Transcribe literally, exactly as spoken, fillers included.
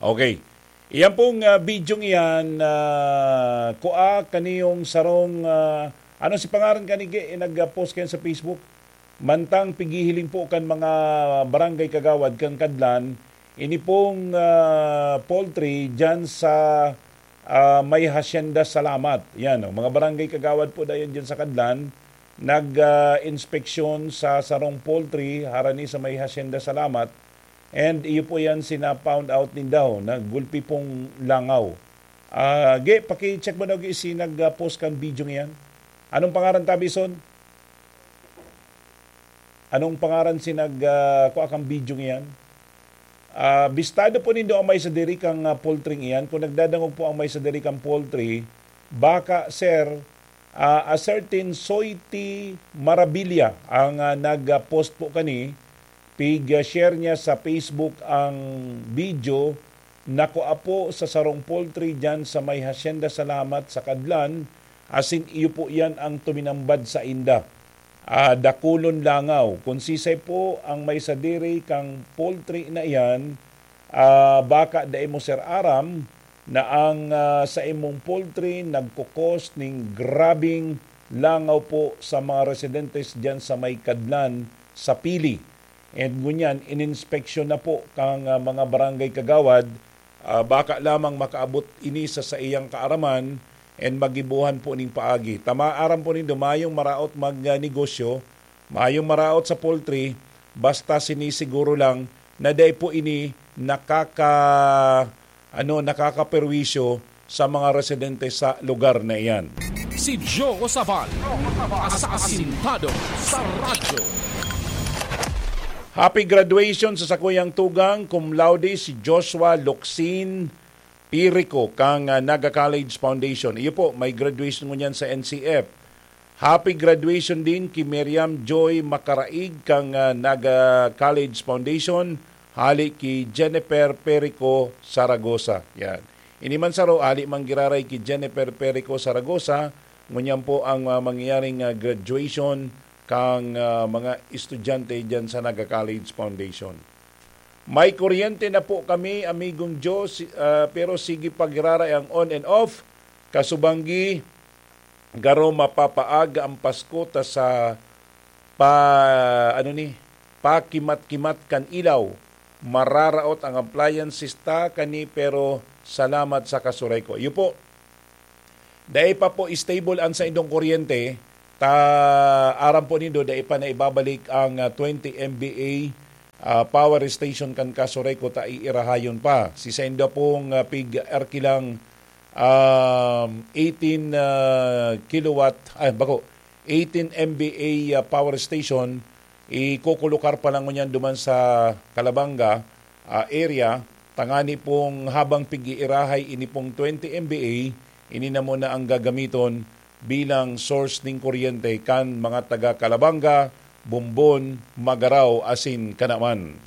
Okay. Iyan pong, ah, bidyong iyan, ah, kua kaniyong sarong, ah, ano si pangaran kani, Ge, nag-post kayan sa Facebook? Mantang pighihiling po kan mga barangay kagawad kan Kadlan, ini pong, ah, poultry diyan sa, ah, may Hacienda Salamat. Yan, oh, mga barangay kagawad po dayon diyan sa Kadlan, nag, ah, inspeksyon sa sarong poultry harani sa may Hacienda Salamat. And iyo po yan sina-found out ninda, oh, na gulpi pong langaw. Ah, Ge, paki-check mo daw, Ge, si nag, ah, post kan video iyan. Anong pangaran, Tabison? Anong pangaran si nag, ah, kua kan video iyan? Ah, bistado po nindo ang may sadiri kang, ah, poultry iyan. Kung nagdadangog po ang may sadiri kang poultry, baka, sir, ah, a certain Soiti Marabilia ang, ah, nag-post po kani, pig-share niya sa Facebook ang video na kua po sa sarong poultry diyan sa may Hacienda Salamat sa Kadlan, asin iyo po iyan ang tuminambad sainda. Ah, dakulon langaw. Kun sisay po ang may sadiri kang poultry na iyan, ah, baka dai mo, sir, aram na ang, ah, sa imong poultry nagkukos ning grabing langaw po sa mga residentes diyan sa may Kadlan, sa Pili. And ngunyan, ininspeksyon na po kang, ah, mga barangay kagawad, ah, baka lamang makaabot ini sa saiyang kaaraman and magibohan po ning paagi. Tama, aram po nindo, mayong maraot magnegosyo, mayong maraot sa poultry, basta sinisiguro lang na dai po ini nakaka-, ano, nakakaperwisyo sa mga residente sa lugar na iyan. Si Joe Sabal, asasintado sa radyo. Happy graduation sa sakuyang tugang, cum laude, si Joshua Locsin Pirico, kan, ah, Naga College Foundation. Iyo po, may graduation ngunyan sa N C F. Happy graduation din ki Miriam Joy Macaraig kan, ah, Naga College Foundation, hali ki Jennifer Perico Saragosa. Yan. Ini man saro, hali man giraray ki Jennifer Perico Saragosa, ngunyan po ang, ah, mangyayaring, ah, graduation kang, ah, mga estudyante diyan sa Naga College Foundation. May kuryente na po kami, amigong Joe, si-, ah, pero sige pa giraray ang on and off. Kasubanggi, garo mapapaaga ang Pasko ta sa pa, ano ni, pakimat-kimat kan ilaw. Mararaot ang appliances ta kani, pero salamat sa kasuray ko. Iyo po, dai pa po stable ang saindong kuryente, ta aram po nindo, dai pa na ibabalik ang, ah, twenty M V A, ah, power station kan kasuray ko ta iirahayon pa. Si saindo pong, ah, pig-arkilang, um, eighteen, ah, kilowatt, ay, bako, eighteen M V A, ah, power station, ikokolokar pa lang ngunyan duman sa Calabanga, ah, area, tangani pong habang pig-iirahay ini pong twenty M V A, ini na muna ang gagamiton bilang source ning kuryente kan mga taga Calabanga, Bombon, Magarao, asin Canaman.